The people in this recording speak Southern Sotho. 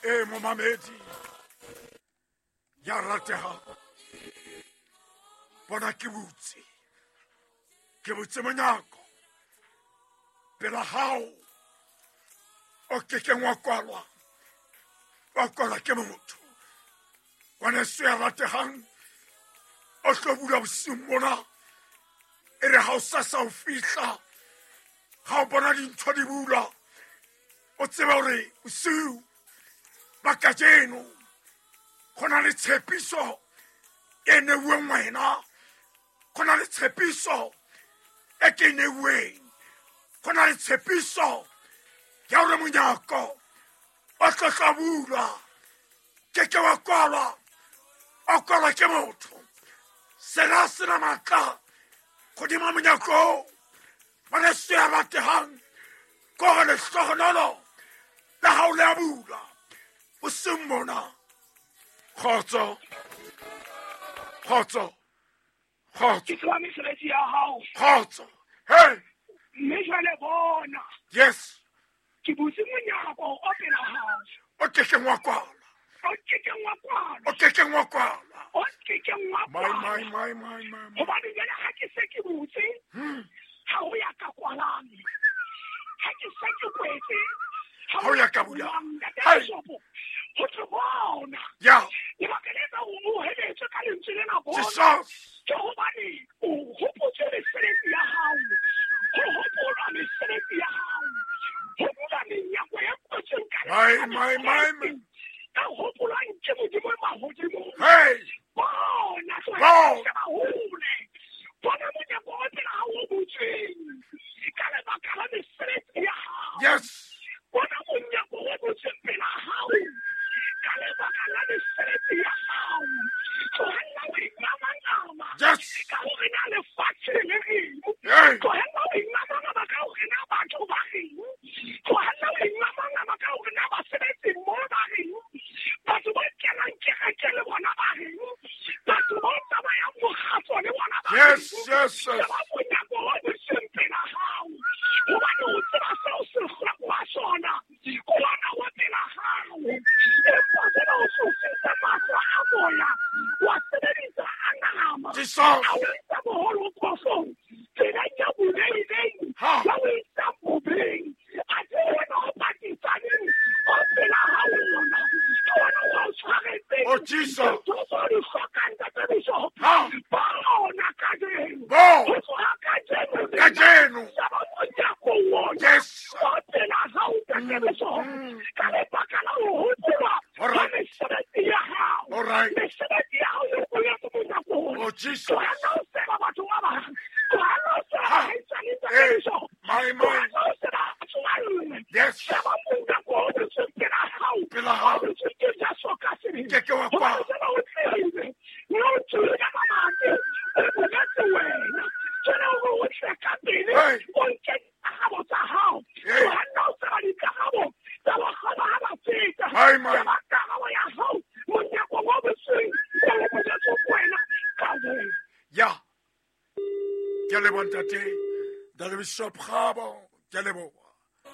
E momamedi ya rategang, bona ke butse, ke butse monyako pela gago o kekeng wa kwalwa, wa kwalwa ke motho. Ngwaneso ya rategang, o tlo bula bosiung bona, e re ga o sa sa o fihla, ga o bona dintho di bula, o tsebe gore bosiu ba kajeno go na le tshepiso e neuweng wena, go na le tshepiso e ke e neuweng, go na le tshepiso ya gore monyako o tlo tla bulwa, ke ke wa kwalwa, o kwalwa ke motho. Sena se na matla godima monyako o. Ngwaneso ya rategang, ko gore lehlogonolo la gago le a bula boseng mona. Kgotso, kgotso, kgotso. Ke tseba mesebetsi ya hao. Kgotso. Hey. Mme jwale bona. Yes. Ke butse monyako o pela hao. O kekeng wa kwalwa. O kekeng wa kwalwa. O kekeng wa kwalwa. O kekeng wa My, kwalwa. my, my, my, my, my. Hobane jwale ha ke se ke butse, ha ho ya ka kwalang. Ha ke se ke kwetse, ha Ha ho ya ka bulang. bulang. Ntate Hey. Bishopo, ho tlo bona. Ya. Lebaka le etsang hore o heletswe ka lentswe lena bona. Jesus. Ke hobane o hopotse mesebetsi ya hao. Ho hopolwa mesebetsi ya hao. Ho bula menyako e kwetsweng ka My, lebaka my, my, my. Ka hopolwang ke Modimo e mahodimong. Hey. Bona, tlohela Bona. ho sheba hole. Bona monyako o pela hao o butsweng. Ka lebaka la mesebetsi ya hao. Yes. Bona monyako o butsweng pela hao. Ka lebaka la mesebetsi ya hao. Tlohella ho ingamangama. Yes. Ka hore na lefatshe le reng. Hey. Tlohella ho ingamangama ka hore na batho ba reng. Tlohella ho ingamangama ka hore na basebetsi mo ba reng. Batho ba kenang kereke le bona ba reng. Batho ba tsamayang mokgatlo le bona ba Yes, reng. yes, yes. Sheba monyako o butsweng pela hao. Hobane o tseba seo se hlokwa sona. Ke ona o pela hao. Empa jwale o tlositse mahlo a moya, wa sebedisa a nama. Jesus. A o isa boholo phosong, tseleng ya boleng, Ha. ya o isa bobeng. Athe wena o patisaneng, o pela hao ona. Ke wena o tshwaretseng. Oh, Jesus. Ntho tseo di hlokang, Ntate Bishop. Ha. Bona kajeno. Bo. Ho tloha kajeno lena. Kajeno. Sheba monyako ona. Yes. O pela hao, Ntate Bishop. Ka lebaka la ho hopolwa All right. ha mesebetsi ya hao. All right. Mesebetsi ya hao e kwetse monyako ona. Oh, Jesus. Tlohella ho seba batho ba bang. Tlohella ho seba Ha. baahisane, Ntate Hey. Bishop. My, my. Tlohella ho seba batswalle. Yes. Sheba monyako o butsweng pela hao. Pela hao. O butsweng ke Jesu ka sebele. Ke ke wa Hobane kwala. jwale o tlile, mme o tswile ka mamati, o boletse wena. Jwale hore o tle ka pele, Hey. o nke dikarabo tsa hao. Hey. Tlohella ho tseba dikarabo tsa bakgolo ha ba feta. My, my. Sheba karabo ya hao, monyako o butsweng, o boletse wena ka wena. Ya. Ke a leboha ntate. Ntate Bishop Kgabo, ke a leboha.